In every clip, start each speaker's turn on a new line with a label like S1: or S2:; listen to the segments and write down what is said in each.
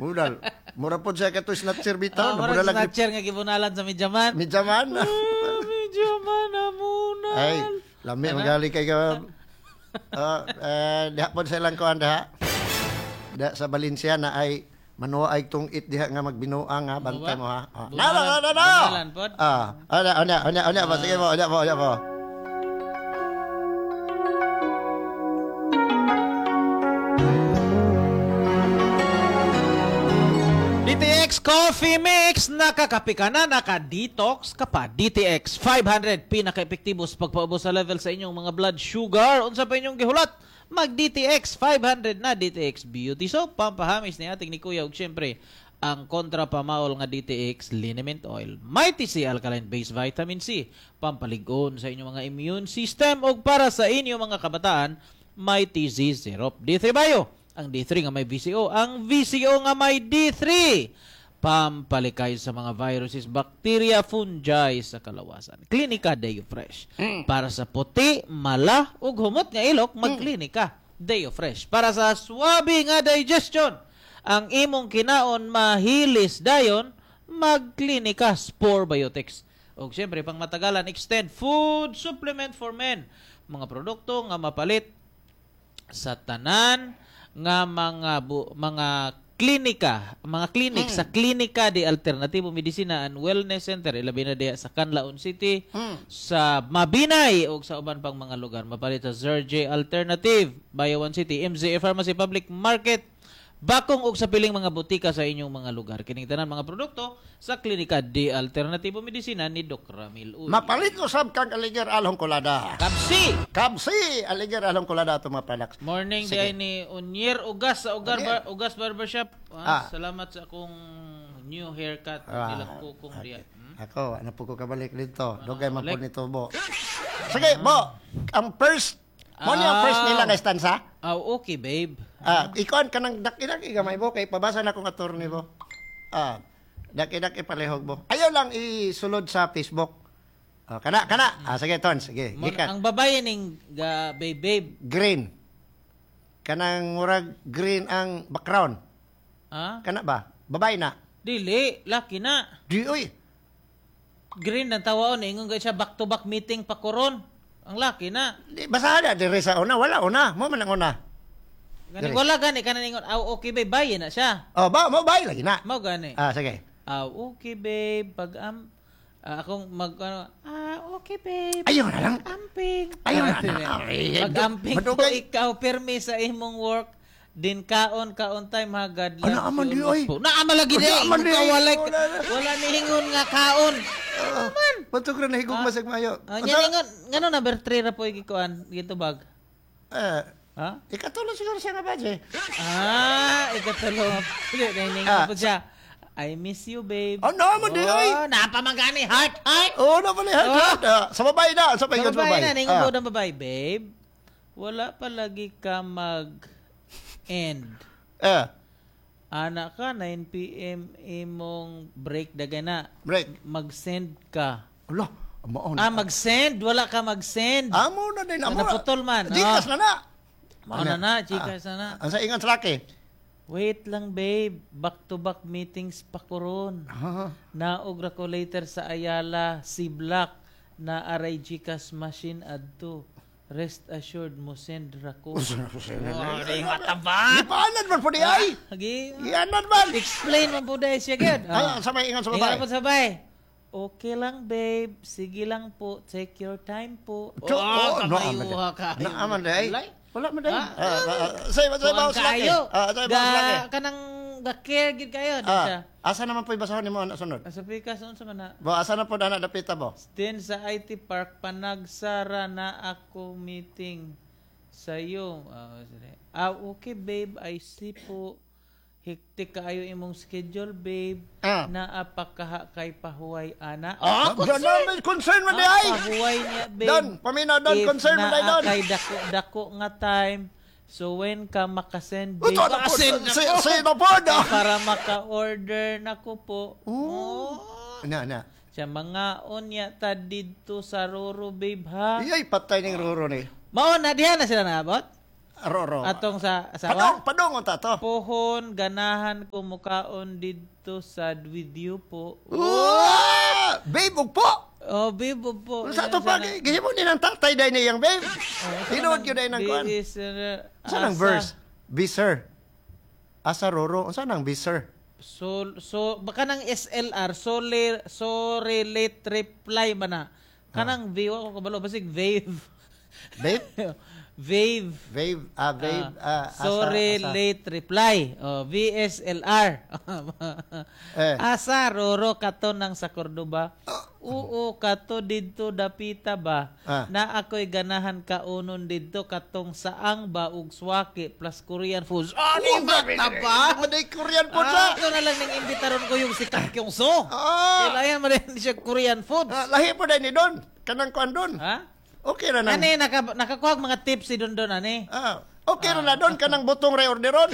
S1: Budal. Mura pod siya kato snatcher bitaw.
S2: Ah, murag
S1: Nabudal lagi.
S2: Snatcher nga gibunalan sa Midyaman.
S1: Midyaman.
S2: Ah, Midyaman amunal.
S1: Ay, lami magali kay ka. Ah, eh, diha pod sa ilang kuan diha. Diha sa Valencia na ay manuwa ay tungit diha nga magbinuang ha, bantay mo ha. Ah. Na, na, na, na, na.
S2: Bunalan pod.
S1: Ah, ana, ana, ana, ana, ba, sige mo, ana mo, ana mo.
S2: DTX Coffee Mix, nakakape ka na, naka-detox ka pa. DTX 500, pinaka-epektibo sa pagpaubos sa level sa inyong mga blood sugar. Unsa pa inyong gihulat? Mag DTX 500 na DTX Beauty Soap, pampahamis ni ating ni Kuya ug syempre ang kontra pamaol nga DTX Liniment Oil. Mighty C Alkaline Based Vitamin C, pampaligon sa inyong mga immune system ug para sa inyong mga kabataan, Mighty Z Syrup. D3 Bio, ang D3 nga may VCO, ang VCO nga may D3. Pampalikay sa mga viruses, bacteria, fungi sa kalawasan. Klinika Deo Fresh. Para sa puti, mala ug humot nga ilok, magklinika Deo Fresh. Para sa swabe nga digestion, ang imong kinaon mahilis dayon, magklinika Spore Biotics. Og siyempre, pang matagalan, extend food supplement for men. Mga produkto nga mapalit sa tanan nga mga klinika, mga klinik sa Klinika de Alternativo Medicina and Wellness Center, ilabi na diha sa Canlaon City, sa Mabinay ug sa uban pang mga lugar. Mapalit sa Zerge Alternative, Bayawan City, MZA Pharmacy, Public Market, Bakong ug sa piling mga butika sa inyong mga lugar. Kining tanan mga produkto sa Klinika de Alternativo Medicina ni Doc Ramil Uy.
S1: Mapalit ko sab kang Aliger Alhong Kulada.
S2: Kapsi!
S1: Kabsi! Aliger Alhong Kulada ato mga products.
S2: Morning
S1: Sige.
S2: di ay ni Unyer Ugas sa Ugar
S1: Unyer.
S2: Ugas Barbershop.
S1: Ah.
S2: Ah, salamat sa akong new haircut
S1: Ah,
S2: nila kukong diya.
S1: Ako, ano po ko kabalik dito? Dugay man po
S2: balik.
S1: nito, bo. Sige, bo. Ang first, mo niya ang first nila nga stanza?
S2: Ah, okay babe.
S1: Ah, ikuan ka ng daki-daki gamay bo kay pabasa na akong attorney bo. Ah, daki-daki palihog bo. Ayaw lang isulod sa Facebook. Ah, kana kana. Ah, sige ton, sige. Gikan.
S2: Ang babae ning ga babe babe.
S1: Green. Kanang murag green ang background.
S2: Ha?
S1: Kana ba? Babae na.
S2: Dili, laki na.
S1: Di oy.
S2: Green ang tawaon ingon gay siya back to back meeting pa koron. Ang laki na.
S1: Di, basahan na dire sa una, wala una. Mo man ang una.
S2: Gani
S1: Dili.
S2: wala gani kanan ingon, aw okay babe, baye na siya.
S1: Oh, ba mo babae lagi na.
S2: Mao gani.
S1: Ah, sige.
S2: Ah, okay babe, pag am akong mag ano, ah okay babe.
S1: Ayaw na lang.
S2: Amping.
S1: Ayaw na na. Ay,
S2: Pag amping ko
S1: madugay.
S2: ikaw pirmi sa imong work din kaon kaon time ha, God
S1: Ano,
S2: loves
S1: aman
S2: you
S1: di,
S2: always
S1: oy.
S2: po. Naama lagi di.
S1: Ano, aman di,
S2: Ikaw
S1: oy.
S2: wala
S1: Wala na.
S2: wala nihingon nga kaon.
S1: Ah, Patok ra nahigog masag mayo.
S2: Ah, nya ningon ngano number 3 ra po gikuan gitubag.
S1: Eh,
S2: Ha?
S1: ikatulo siguro siya nga badge.
S2: Ah, ikatulo. Hindi, nihingon po siya. I miss you, babe.
S1: Oh, no, man di, oy.
S2: Oh, napamagani heart, heart.
S1: Oh, na pala heart, heart. Ah, sa babae na, sa babae,
S2: Sa
S1: sa babae.
S2: babae na, ningon
S1: Ah.
S2: po ng babae, babe. Wala palagi ka mag end.
S1: Eh,
S2: Ana ka, 9 p.m. imong break daga na.
S1: Break.
S2: Mag-send ka.
S1: Ala, maon.
S2: Ah, mag-send? Wala ka mag-send.
S1: Amo na din, amo na.
S2: Naputol man.
S1: Gikas
S2: Ah.
S1: na na.
S2: Mao na na, gikas na na.
S1: Ang sa ingon sa laki.
S2: Wait lang, babe. Back-to-back meetings pa ko ron.
S1: Ah.
S2: Naog ra ko later sa Ayala, si Black, na aray Gcash machine adto. Rest assured mo send ra ko. Ay, mataba.
S1: Gipaanad man po di ay.
S2: Agi.
S1: Gianad man.
S2: Explain man po dahil siya gyud.
S1: Ay, sa may ingon sa babae.
S2: Ingon po sa babae. Okay lang, babe. Sige lang po. Take your time po.
S1: Oh, no,
S2: kamayuha ka.
S1: Naaman di ay.
S2: Walay.
S1: Wala man di.
S2: Ah.
S1: Ah, ah, ah, say, say,
S2: Kuan
S1: ba sa laki.
S2: kaayo.
S1: Ah, say, ba sa laki.
S2: Kanang ga care gid kayo di siya.
S1: Ah, asa naman po ibasahon nimo anak sunod?
S2: Sa pikas unsa man na?
S1: Bo, asa na po na dapita bo?
S2: Then sa IT Park panagsara na ako meeting sa iyo. Ah, okay babe, I see po. Hektik kaayo imong schedule, babe.
S1: Ah.
S2: Naa pa kaha kay pahuway ana.
S1: Ah, concern, concern man di ay.
S2: Pahuway niya, babe.
S1: Don, paminaw, don,
S2: If
S1: concern man di,
S2: naa
S1: don.
S2: kay dako dako nga time. So when ka makasend, babe,
S1: Ito na po.
S2: makasend na
S1: Si,
S2: ko.
S1: si na po. na.
S2: Para maka-order na ko po. Oh.
S1: Na, na.
S2: Siya mga onya ta didto sa Roro, babe, ha.
S1: Iyay, patay ning ruro ni.
S2: Mao na diha na sila naabot.
S1: Roro.
S2: Atong sa asawa.
S1: Padong, padong unta to.
S2: Pohon, ganahan ko mukaon didto sa with you po.
S1: Uwa! Babe, ug po.
S2: Oh, babe, po.
S1: Sa to pa, gihimo ni ng tatay dahil niyang babe. Tinuod yun dahil ng kuan.
S2: This,
S1: Saan ang verse? Be sir. Asa Roro? Saan ang be sir?
S2: So, baka nang SLR, sorry, sorry late reply ba na? Kanang V, wa ko kabalo, basig vape.
S1: Babe?
S2: Vape.
S1: Babe, ah, babe, ah, asa,
S2: Sorry
S1: asa.
S2: late reply. Oh, VSLR.
S1: Eh.
S2: Asa Roro kato nang sa Cordoba. Oo kato didto dapita ba?
S1: Ah.
S2: Na ako'y ganahan kaunon didto katong saang ba ug swaki plus Korean foods. Ah, di ba taba?
S1: Maday Korean food
S2: Ah,
S1: sa.
S2: ito na lang ning imbitaron ko yung si Kang Kyung So.
S1: Ah.
S2: Kailangan mo rin siya Korean foods.
S1: Ah, lahi po dahil ni Don. Kanang kuan Don.
S2: Ha?
S1: Okay ra nang.
S2: Ani nakakuha og mga tips si Don Don ani.
S1: Ah, okay ra na Don kanang butong ray orderon.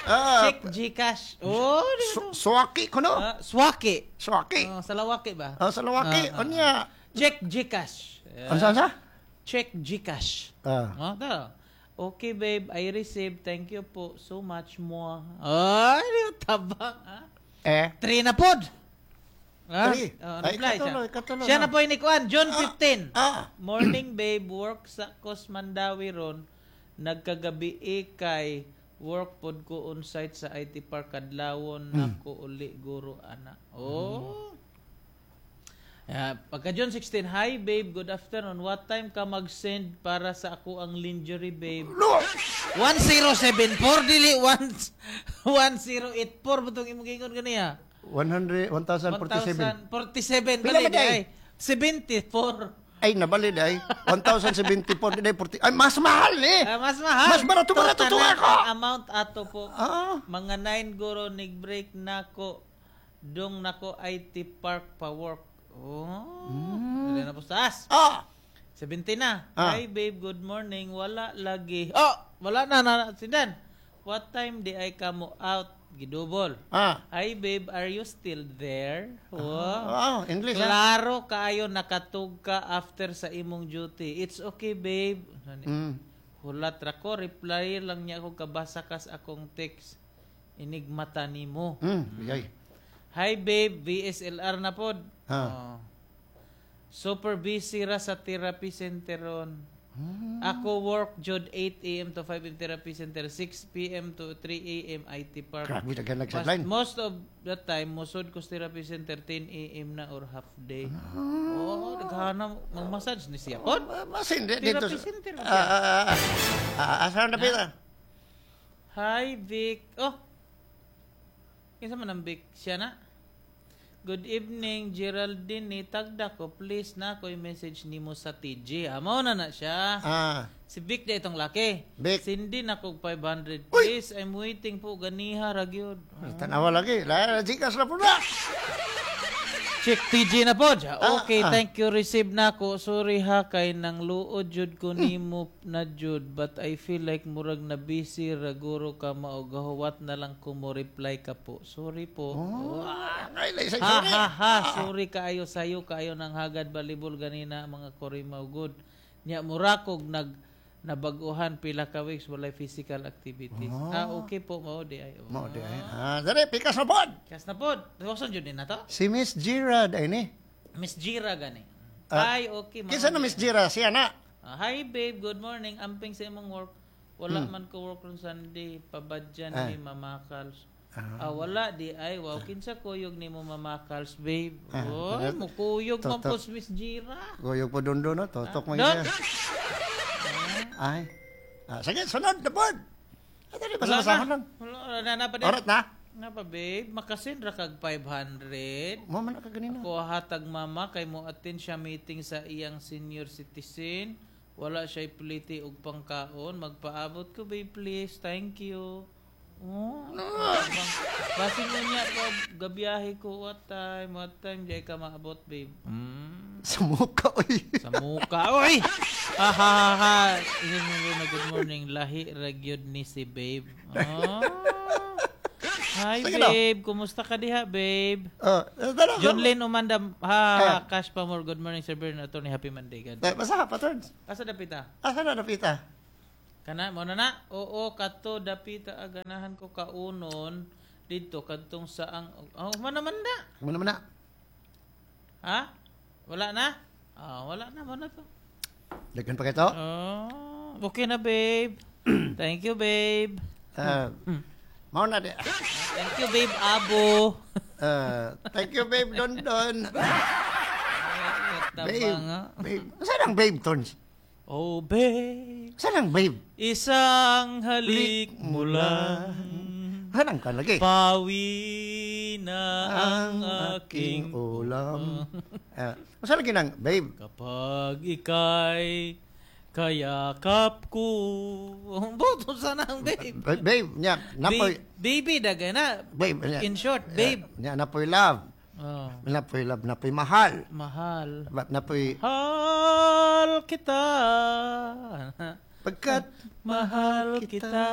S1: Ah,
S2: Check GCash. Oh, di ba to?
S1: Swaki ko no.
S2: Ah, swaki.
S1: Swaki.
S2: Oh, Salawaki ba?
S1: Ah, sa lawaki.
S2: Ah, ah.
S1: Unya.
S2: Check GCash. Yeah.
S1: Unsa unsa?
S2: Check GCash.
S1: Ah.
S2: Oh, to. Okay, babe, I received. Thank you po so much mo. Ay, di ba tabang. Ah?
S1: Eh.
S2: Three na pod. Ah,
S1: Three.
S2: oh,
S1: Ay,
S2: reply siya.
S1: katuloy, katuloy
S2: Siya
S1: na.
S2: na po ni Kuan, June 15.
S1: Ah.
S2: Morning, babe, work sa Kos Mandawi ron. Nagkagabi kay work pod ko on site sa IT Park kadlawon nako uli guro ana. Oh. Pagka June 16, hi babe, good afternoon. What time ka mag-send para sa ako ang lingerie, babe?
S1: No.
S2: 1074 dili 1 1084 butong imong giingon ganiya.
S1: 100 1047.
S2: 1047
S1: Pila
S2: bali
S1: ba day?
S2: ay 74.
S1: Ay nabali day. 1074 day 40. Ay mas mahal eh.
S2: Ah, mas mahal.
S1: Mas barato barato
S2: Total
S1: to ako.
S2: ang amount ato po.
S1: Ah.
S2: Mga 9 guro nig break nako dong nako IT Park pa work. Oh. Dili na po sa taas.
S1: Ah.
S2: 70 na.
S1: Ah.
S2: Hi babe, good morning. Wala lagi. Oh, wala na na sindan. What time di ay kamo out? Gidubol.
S1: Ah.
S2: Hi babe, are you still there? Wow.
S1: Ah, English ah.
S2: Klaro kaayo nakatug ka after sa imong duty. It's okay babe. Ano ni? Hulat ra ko, reply lang niya ako kabasa kas akong text. Enigmata nimo.
S1: Yay.
S2: Hi babe, VSLR na pod.
S1: Ah.
S2: Oh. Super busy ra sa therapy center ron. Ako work jud 8 a.m. to 5 a.m. therapy center, 6 p.m. to 3 a.m. IT Park.
S1: Grabe daghan
S2: Mas,
S1: nagsideline.
S2: most of the time, musod ko sa therapy center 10 a.m. na or half day. Oh, naghanam mag-massage ni siya pod.
S1: Ah, mas hindi dito.
S2: Therapy center ba
S1: Ah, ah, ah, ah. Ah, asa na pila?
S2: Hi, Vic. Oh. Kinsa man ang Vic? Siya na? Good evening, Geraldine ni tagda ko. Please na ko message nimo sa TG. Amo na na siya.
S1: Ah.
S2: Si Vic na itong laki.
S1: Vic.
S2: Sindi na kog 500.
S1: Uy!
S2: Please, I'm waiting po. Ganiha, ragyod.
S1: Tanawa lagi. La Gcash na po na.
S2: Check TG na po. Siya.
S1: Ah,
S2: Okay,
S1: ah.
S2: thank you. Receive na ko. Sorry ha, kay nang luod jud ko nimo na jud. But I feel like murag na busy raguro ka maugahwat na lang ko mo reply ka po. Sorry po.
S1: Oh. Ay, lay sa
S2: Ha
S1: sorry.
S2: ha ha, sorry kaayo sayo kaayo nang hagad balibol ganina mga korimaw good. Nya murakog nag nabaguhan pila ka weeks walay physical activities. Ah, okay po mao di ay. Oh.
S1: Mo di ay. Ah, dere pikas na pod.
S2: Kas na pod. Tuwasan jud ni na to.
S1: Si Miss Gerard ay ni.
S2: Miss Gira gani.
S1: Ah,
S2: Hi, okay. mao
S1: Kinsa na
S2: di
S1: Miss Gira siya na.
S2: Ah, hi babe, good morning. Amping sa imong work. Wala man ko work ron Sunday. Pabadyan
S1: Ah.
S2: ni Mamakals. Ah, wala di ay wow kinsa kuyog nimo Mamakals babe.
S1: Ah,
S2: Oy, mukuyog man po
S1: Totok.
S2: si Miss Gira.
S1: Goyog po doon doon, no? Totok mo
S2: Don.
S1: siya. Ay. Ah, sige, sunod na pod. Ah, dali,
S2: Wala
S1: basa-basahon
S2: na.
S1: lang.
S2: Wala na na pa din.
S1: Orat na.
S2: Na pa babe, makasin ra kag 500.
S1: Mo man ka ganina.
S2: Ako hatag mama kay mo attend siya meeting sa iyang senior citizen. Wala siya pliti og pangkaon. Magpaabot ko babe please. Thank you. Oh, basin mo niya pa gabiyahe ko what time di ka maabot babe.
S1: Sa muka, oy.
S2: Sa muka oy. Ha ha ha. Ha. Ingon mo na good morning lahi ra gyud ni si babe. Oh. Hi,
S1: Sige na.
S2: babe. Kumusta ka diha, babe?
S1: Oh, tara.
S2: John Lynn Umanda, ha,
S1: Eh.
S2: cash pa more. Good morning, Sir Bern. Attorney, happy Monday. God.
S1: Eh, basa ka pa, Torns.
S2: Asa dapita?
S1: Asa na napita?
S2: Kana, mo na na. Oo, kato dapita aganahan ko kaunon didto kadtong sa ang oh, man naman na.
S1: Muna muna.
S2: Ha? Wala na? Ah, wala na mo na to.
S1: Daghan pa kito?
S2: Oh, okay na, babe. Thank you, babe.
S1: Mao na di.
S2: Thank you, babe Abo.
S1: Thank you, babe Don Don. Babe.
S2: Babe.
S1: Babe. Saan ang babe, Torns?
S2: Oh, babe.
S1: Saan ang babe?
S2: Isang halik mo lang.
S1: Saan ang kan lagi?
S2: Pawi na ang aking
S1: ulam. Saan lagi nang babe?
S2: Kapag ika'y kayakap ko. Boto sana ang babe.
S1: Babe, nya, napoy,
S2: Baby, dagay na.
S1: Babe, nya.
S2: In short, babe.
S1: Nya, napoy love.
S2: Oh,
S1: Napoy love, napoy mahal.
S2: Mahal.
S1: Napoy,
S2: Mahal kita.
S1: Pagkat
S2: Mahal kita.